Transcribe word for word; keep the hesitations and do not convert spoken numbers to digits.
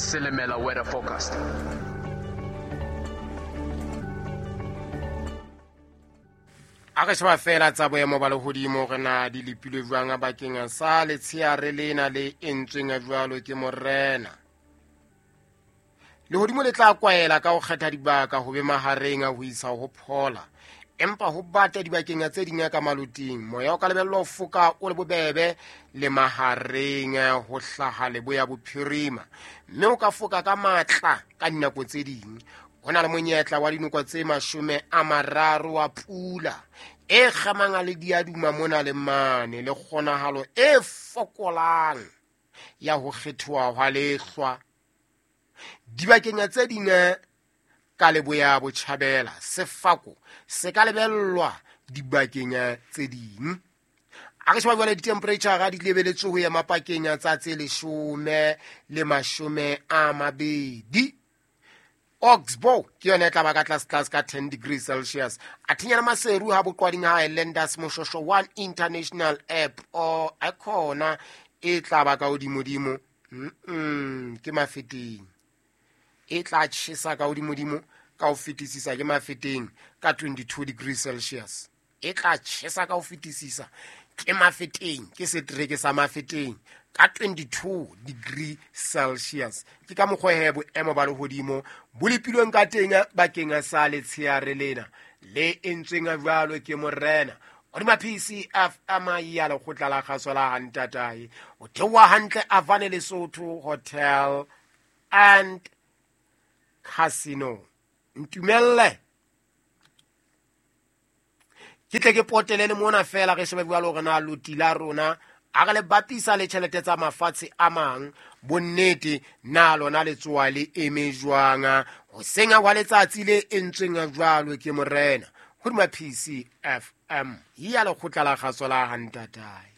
Silimela weather forecast. A re sheba fela tsa boemo ba lehodimo re na di lepilwe jwang bakeng sa letsheare lena le entsweng jwalo ke morena. Lehodimo le tla kwaela ka ho kgetha dibaka ho be mahareng a ho isa ho phola, empa ho bata dibakeng tse ding ka maloting. Moya o ka lebellwa ho foka o le bobebe le mahareng ho hlaha leboya bophirima, mme o ka foka ka matla ka dinako tse ding. Ho na le monyetla wa dinoko tse mashome a mararo wa pula e kgamang le diaduma mona le mane, le kgonahalo e fokolang ya ho kgethoha hwa lehlwa. Dibakeng tse ding ka leboya botjhabela, sefako se ka lebellwa dibakeng tse ding. A re sheba jwale di-temperature di lebeletswe ho ema pakeng tsa tse leshome le mashome a mabedi. Oxbow ke yona e tla ba ka tlase tlase ka ten degrees Celsius. A thinyana Maseru ha boqwading ha Highlanders Moshosho one International App o a khona e tla ba ka hodimodimo. Mm ke Mafeteng. E tla tjhesa ka hodimodimo ka ho fetisisa ke Mafeteng ka twenty-two degrees Celsius. E tla tjhesa ka ho fetisisa ke Mafeteng, ke setereke sa Mafeteng ka twenty-two degree Celsius. Ke ka mokgwa he boemo ba lehodimo bo lepilweng ka teng bakeng sa letsheare lena le entsweng jwalo ke morena. Hodima P C F M ya lekgotla la kgaso la Hantatae, o theoha hantle Avane Lesotho Hotel and Casino. Ntumelle ke tle ke potele le mona fela re shebe jwalo hore na loti la rona a re le bapisa le tjhelete tsa mafatshe a mang, bonnete na lona letsoa le eme jwang hoseng hwa letsatsi le entsweng jwalo ke morena. Hodima P C F M ya lekgotla la kgaso la Hantatae.